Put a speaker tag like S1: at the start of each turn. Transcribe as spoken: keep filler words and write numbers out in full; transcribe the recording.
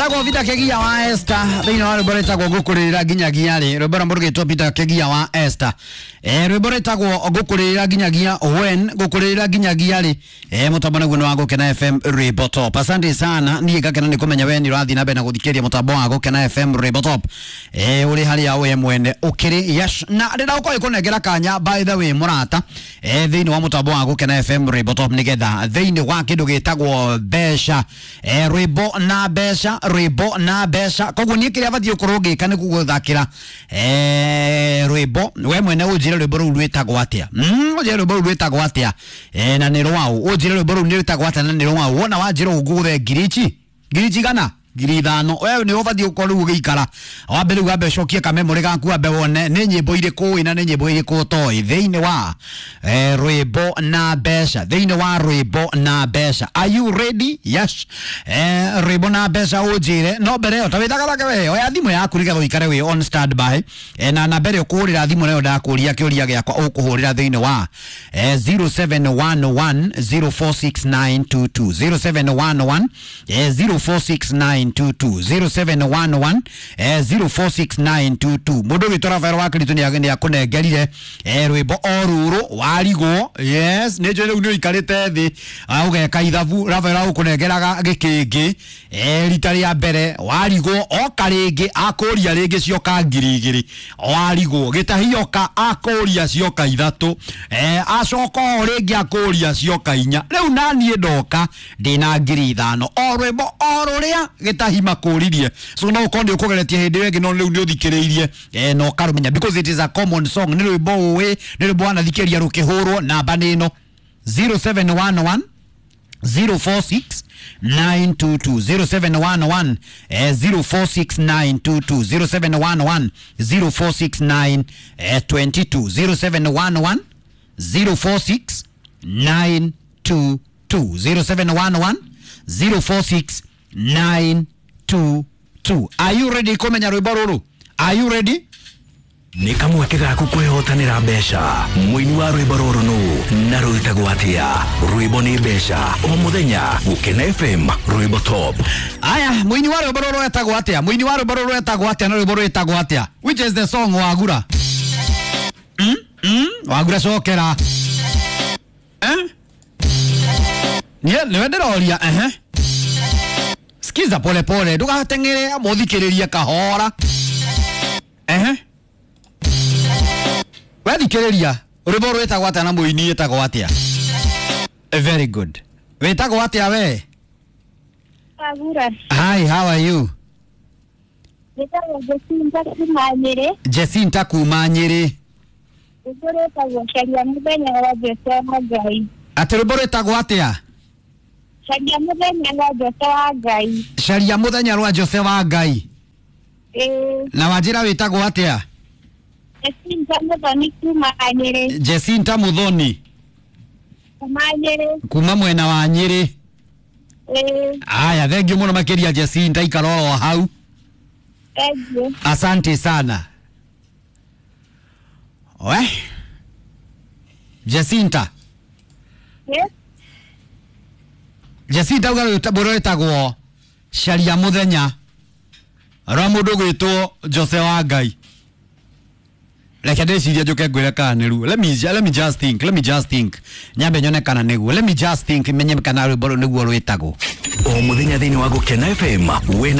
S1: Etagwo Peter Kegia wa Esther thĩinĩ wa rwĩmbo rwĩtagwo ngũkũrĩrĩra nginyagia rĩ rwĩmbo rwa mũndũ gĩtwo Peter Kegia wa Esther eh rwĩmbo rwĩtagwo ngũkũrĩrĩra nginyagia when ngũkũrĩrĩra nginyagia rĩ eh mũtambo naguo nĩ wa Gũkena F M Rwĩmbo Top. Asante sana, niĩ ngakena nĩ kũmenya we nĩ ũrathiĩ na mbere na gũthikĩrĩria mũtambo wa Gũkena F M Rwĩmbo Top eh ũrĩ harĩa we mwene ũkĩrĩ. Yes, na rĩrĩa ũkorwo ĩkũnengera kanya by the way mũrata eh thĩinĩ wa mũtambo wa Gũkena F M Rwĩmbo Top nĩgetha thĩinĩ wa kĩndũ gĩtagwo mbeca eh rwĩmbo na mbeca rwĩmbo na mbeca. Koguo niĩ kĩrĩa batiĩ gũkorwo ngĩka nĩ gũgũthakĩra eh rwĩmbo we mwene ũnjĩre rwĩmbo rũu rwĩtagwo atĩa. Mm ũnjĩre rwĩmbo rũu rwĩtagwo atĩa eh na nĩ rwaũ. Ũnjĩre rwĩmbo rũu nĩ rwĩtagwo atĩa na nĩ rwaũ. Wona wanjĩra ũguo ngiri ici ngiri cigana ngiri ithano we nĩ ũbatiĩ gũkorwo rĩu ũgĩikara wambe rĩu wambe ũcokie kamemorĩ gaku wambe wone nĩ nyĩmbo irĩkũ ũĩ na nĩ nyĩmbo irĩkũ ũtoĩ thĩinĩ wa eh, rwĩmbo na mbeca thĩinĩ wa rwĩmbo na mbeca. Are you ready? Yes. Eh, rwĩmbo na mbeca ũnjĩre no mbere ĩyo ta wĩthagathage we oya thimũ yaku nĩgetha ũikare wĩ on standby eh, na namba ĩrĩa ũkũhũrĩra thimũ nayo ndakũria kĩũria gĩakwa ũkũhũrĩra thĩinĩ wa eh, zero seven one one zero four six nine two two zero seven one one eh, zero four six nine two two zero seven one one eh, zero four six nine two two. Mũndũ witũ Rafael wa Kristo nĩ akũnengerire eh, rwĩmbo o rũrũ warigwo. Yes, nĩ njũĩ rĩu nĩ ũikarĩte thĩ ũgeka ithabu. Rafael agũkũnengeraga gĩkĩngĩ eh, rita rĩa mbere warigwo oka rĩngĩ akũria rĩngĩ cioka ngiri igĩrĩ warigwo gĩtahioka akũria cioka ithatũ eh, acoka o rĩngĩ akũria cioka inya. Rĩu naniĩ ndoka ndĩna ngiri ithano o rwĩmbo o rũrĩa gĩtahi makũririe. So no ũkorwo nĩ ũkũgeretie hĩndĩ ĩyo ĩngĩ no rĩu nĩ ũthikĩrĩirie eh, na ũkarũmenya because it is a common song. Nĩ rwĩmbo ũĩ, nĩ rwĩmbo wanathikĩrĩria rũkĩhũrwo. Namba nĩ ĩno zero seven one one zero four six nine two two zero seven one one eh, zero four six nine two two zero seven one one zero four six nine eh, twenty two zero seven one one zero four six nine two two zero seven one one zero four six nine two two. Are you ready kumenya rwĩmbo rũrũ? Are you ready?
S2: Nĩ kamweke gaku kwĩhotanĩra mbeca. Mũini wa rwĩmbo rũrũ nũ na rwĩtagwo atĩa? Rwĩmbo nĩ mbeca o mũthenya Gũkena F M Rwĩmbo Top.
S1: Aya, mũini wa rwĩmbo rũrũ etagwo atĩa? Mũini wa rwĩmbo rũrũ etagwo atĩa na rwĩmbo rwĩtagwo atĩa? Which is the song Wagura? Mm? Mm? Wagura cokera. Eh? Nie nĩwe ndĩroria ehe. Sikiza pole pole, ndũgateng'ere mũthikĩrĩrie kahora. Ehe. Wethikĩrĩria rwĩmbo rwĩtagwo atĩa na mũini ĩtagwo atĩa? Very good. Wĩtagwo atĩa we?
S3: Wagura.
S1: Hi, how are you?
S3: Wĩtagwo Jacinta kuma Nyĩrĩ.
S1: Jacinta kuma Nyĩrĩ.
S3: Rwĩmbo rwĩtagwo Caria Mũthenya wa Jose wa Ngai.
S1: Atĩ rwĩmbo rwĩtagwo atĩa?
S3: Caria Mũthenya wa Jose wa Ngai.
S1: Caria Mũthenya rwa Jose wa Ngai.
S3: Ĩĩ.
S1: Na wanjĩra wĩtagwo atĩa?
S3: Jacinta Muthoni kuma Nyĩrĩ.
S1: Jacinta Muthoni
S3: kuma Nyĩrĩ.
S1: Kuma mwena wa Nyĩrĩ.
S3: Ĩĩ.
S1: Aya, thank you mũno makĩria Jacinta, ikara oro hau.
S3: Thank you.
S1: Asante sana. We Jacinta.
S3: Yes.
S1: Jacinta uga rwĩmbo rwĩtagwo Caria Mũthenya rwa mũndũ gwĩtwo Jose wa Ngai. Reke ndĩcirie njũke ngwĩre kana nĩruo. Let me, let me just think, let me just think. Nyambe nyone kana nĩguo. Let me just think menye kana rwĩmbo rũu nĩguo rwĩtagwo.
S2: O mũthenya thĩinĩ wa Gũkena F M wĩna